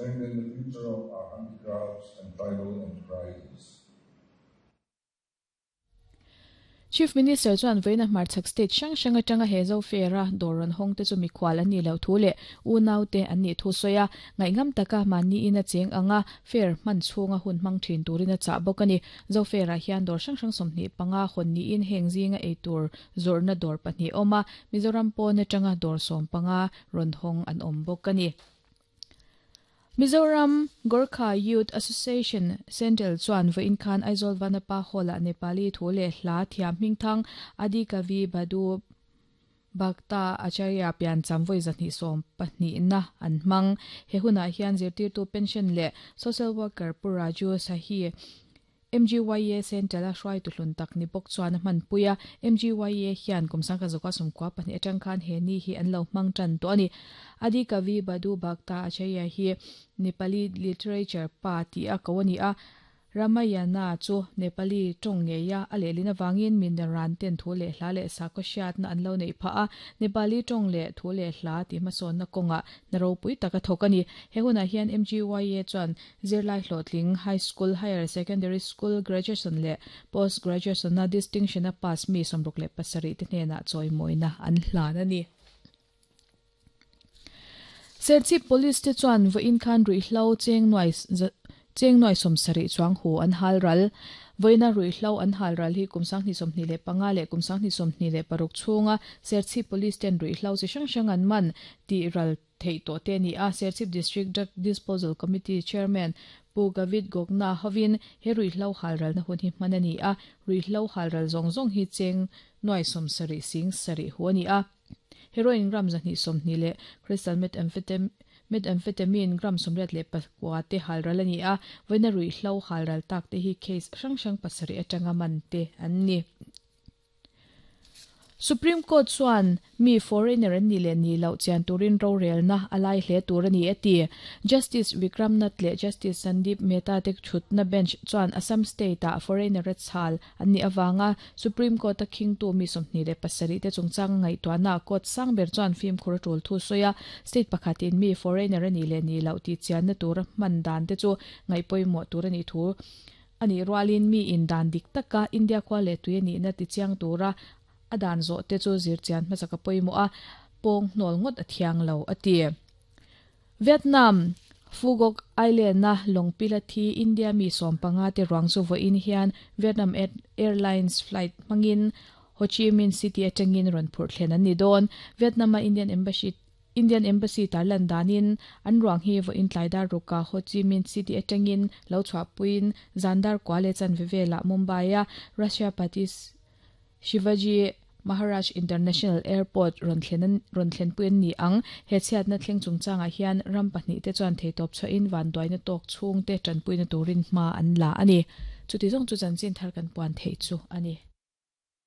strengthen the future of our handicrafts and tribal enterprises. Chief Minister chuan vawiina hmarchhak state hrang hrang atanga he Zo Fair-a dawr rawn hawng te chu mikhual an nih loh thu leh unaute an nih thu sawi a, ngaihngam taka mahniin a cheng anga fair hman chhunga hun hmang thin turin a chah bawk a ni. Zo Fair-ah hian dawr hrang hrang 25 hawn niin heng zinga eitur zawrhna dawr pahnih a awm a, Mizoram pawn atanga dawr 15 rawn hawng an awm bawk a ni. Mizoram Gorkha Youth Association Central chuan vawiin khan Aizawl Vanapa Hall-ah Nepali thu leh hla thiam hmingthang Adi Kavi Bhadu Bhakta Acharya piancham vawi 220na an hmang. He hunah hian zirtirtu pension leh social worker Pu Raju Sahi MGYA Central-a hruaitu hlun tak ni bawk chuan a hmanpui a, MGYA hian kum 1992 atang khan he ni hi an lo hmang tan tawh a ni. Adi Kavi Bhadu Bhakta Acharya hi Nepali literature pa tih a ko a ni a, Ramayana chu Nepali tawng ngeia a lehlin avangin mi naran ten thu leh hla leh sakhaw hriatna an lo neih phah a, Nepali tawng leh thu leh hla tih hmasawnna kawngah hna ropui tak a thawk a ni. He hunah hian MGYA chuan Zirlai hlawhtling, High School, Higher Secondary School, Graduation leh Post Graduation-a Distinction-a pass mi 67 te hnenah chawimawina an hlan a ni. Serchhip Police te chuan vawiin khan ruihhlo cheng nuai cheng nuai 70 chuang hu an hal ral. Vawiina ruihhlo an hal ral hi kum 2025 leh kum 2026 chhunga Serchhip Police ten ruihhlo chi hrang hrang an man tih ral theih tawh te a ni a, Serchhip District Drug Disposal Committee Chairman Pu Gavit Gogna hovin he ruihhlo halralna hun hi hman a ni a, ruihhlo halral zawng zawng hi cheng nuai 70 sing sarih hu a ni a. Heroin gram 220 leh crystal methamphetamine gram 89 te halral a ni a, vawiina ruihhlo halral tak te hi case hrang hrang pasarih atanga man te an ni. Supreme Court chuan mi foreigner an nih leh nih loh chian turin rorelna a lai hle tur a ni a ti. Justice Vikram Nath leh Justice Sandeep Mehta te thutna bench chuan Assam state-ah foreigner a chhal an nih avanga Supreme Court-a khingtu mi 27 te chungchanga ngaihtuahna court sang ber chuan fimkhur a tul thu sawi a, state pakhatin mi foreigner a nih leh nih loh tih chianna tura hman dan te chu ngaihpawimawh tur a nih thu A nih rualin mi in dan dik taka India khua leh tui a nihna tichiang tura a dan zawh te chu zirchian hmasa ka pawimawh a, pawng hnawl ngawt a thiang lo, a ti. Vietnam, Phu Quoc Island-a lawngpila thi India mi 15 te ruang chu vawiin hian Vietnam Airlines flight hmangin Ho Chi Minh City atangin rawn phurh thlen an ni dawn. Vietnam-a Indian Embassy Indian Embassy tarlan danin an ruang hi vawiin tlai dar ruka Ho Chi Minh City atangin lo chhuahpuiin zan dar kua leh chanve velah Mumbai-a Rashtrapati Shivaji Maharaj International Airport rawn thlen rawn thlenpui an ni ang. He chhiatna thleng chungchangah hian ram pahnih te chuan theitawp chhuahin vanduaina tawk chhungte tanpuina turin hma an la a ni. Chuti zawng chu chanchin thar kan puan theih chu a ni.